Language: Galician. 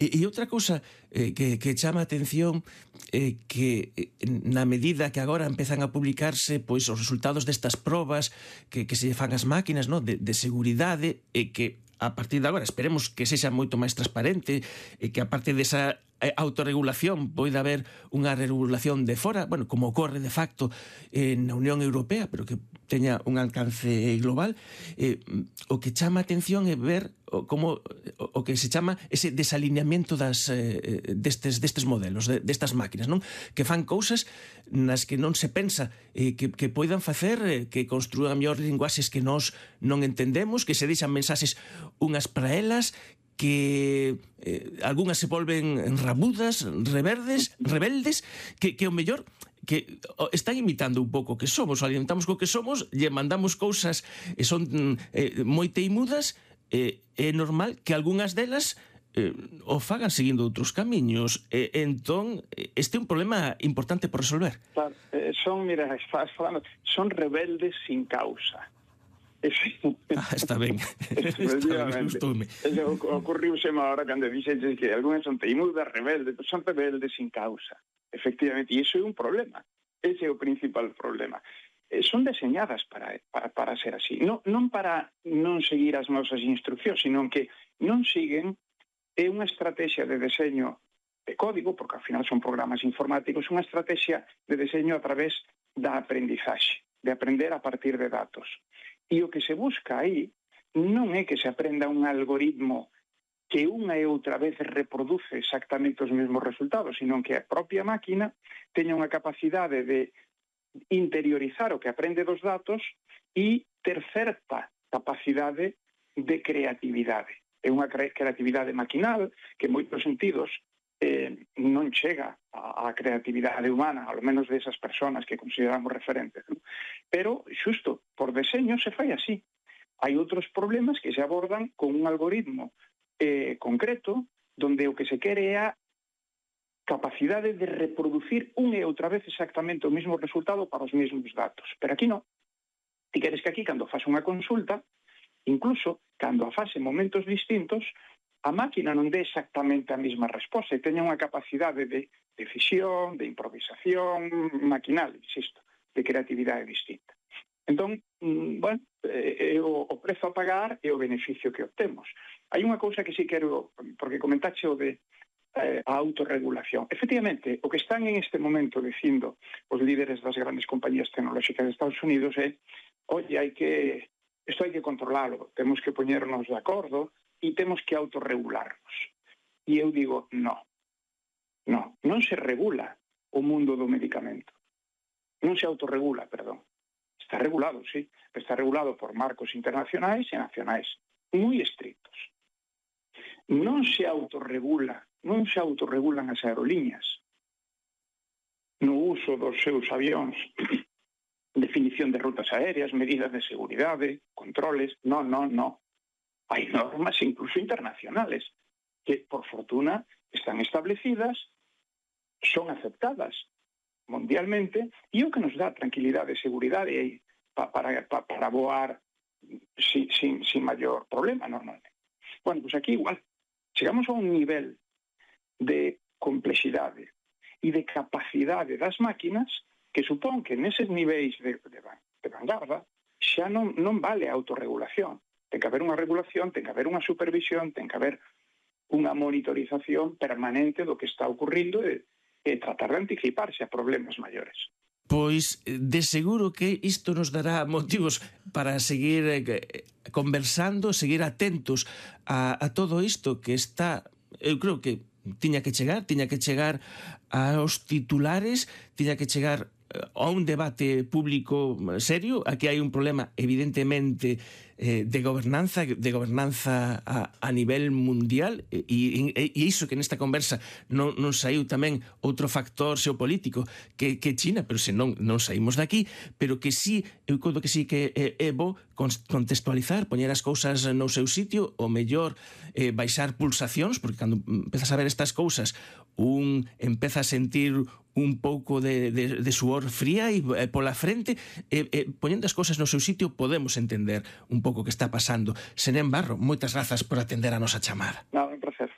E outra cousa que chama a atención que na medida que agora empezan a publicarse pois os resultados destas probas que se fan as máquinas, no? de seguridade, e que a partir de agora esperemos que sexa moito máis transparente e que a parte desa autorregulación poida haber unha regulación de fora, bueno, como ocorre de facto na Unión Europea, pero que teña un alcance global. O que chama a atención é ver como o que se chama ese desalineamiento destes modelos, destas máquinas, non? Que fan cousas nas que non se pensa que poidan facer, que construan mellor linguaxes que nós non entendemos, que se deixan mensaxes unhas para elas, que algunhas se volven rabudas, rebeldes, que o mellor que están imitando un pouco que somos, o alimentamos co que somos, lle mandamos cousas e son moi teimudas, é normal que algunhas delas o fagan seguindo outros camiños. Entón, este é un problema importante por resolver. Claro, mira, estás falando, son rebeldes sin causa. Está ben. Efectivamente. Ocurriuse ahora cando dixeches que algunhas son teimudas, rebeldes, son rebeldes sin causa. Efectivamente, e iso é un problema. Ese é o principal problema. Son deseñadas para ser así. Non para non seguir as nosas instruccións, sino que non siguen unha estrategia de deseño de código, porque ao final son programas informáticos, unha estrategia de deseño a través da aprendizaxe, de aprender a partir de datos. E o que se busca aí non é que se aprenda un algoritmo que unha e outra vez reproduce exactamente os mesmos resultados, sino que a propia máquina teña unha capacidade de interiorizar o que aprende dos datos e ter certa capacidade de creatividade. É unha creatividade maquinal que en moitos sentidos non chega á creatividade humana, ao menos desas persoas que consideramos referentes. ¿No? Pero, xusto, por deseño se fai así. Hai outros problemas que se abordan con un algoritmo concreto, donde o que se quere é a capacidade de reproducir unha e outra vez exactamente o mesmo resultado para os mesmos datos. Pero aquí non. Ti queres que aquí, cando faz unha consulta, incluso cando a faz en momentos distintos, a máquina non dé exactamente a mesma resposta e teña unha capacidade de decisión, de improvisación maquinal, insisto, de creatividade distinta. Entón, bueno, o prezo a pagar e o beneficio que obtemos. Hai unha cousa que sí quero, porque comentaxe o de a autorregulación. Efectivamente, o que están en este momento dicindo os líderes das grandes compañías tecnolóxicas de Estados Unidos é, oye, isto hai que controlarlo, temos que poñernos de acordo e temos que autorregularnos. E eu digo, non se regula o mundo do medicamento. Non se autorregula, perdón. Está regulado, sí, pero está regulado por marcos internacionais e nacionais moi estrictos. Non se autorregulan as aerolíneas no uso dos seus avións, definición de rutas aéreas, medidas de seguridade, controles, non. Hai normas incluso internacionales que, por fortuna, están establecidas, son aceptadas mundialmente e o que nos dá tranquilidade e seguridade para voar sin maior problema normalmente. Bueno, pues aquí igual, chegamos a un nivel de complexidade e de capacidade das máquinas que supón que neses niveis de vanguarda xa non vale a autorregulación. Ten que haber unha regulación, ten que haber unha supervisión, ten que haber unha monitorización permanente do que está ocurrindo e tratar de anticiparse a problemas maiores. Pois, de seguro que isto nos dará motivos para seguir conversando, seguir atentos a todo isto que está, eu creo que tiña que chegar aos titulares, tiña que chegar a un debate público serio. Aquí hai un problema evidentemente de gobernanza a nivel mundial e iso que nesta conversa non saiu tamén outro factor xeopolítico que China, pero se non saímos daqui, pero que sí, eu codo que sí que é bo contextualizar, poñer as cousas no seu sitio, o mellor baixar pulsacións, porque cando empezas a ver estas cousas un empeza a sentir un pouco de suor fría e pola frente, poñendo as cousas no seu sitio podemos entender un pouco o que está pasando. Senén Barro, moitas grazas por atender a nosa chamada. Un placer.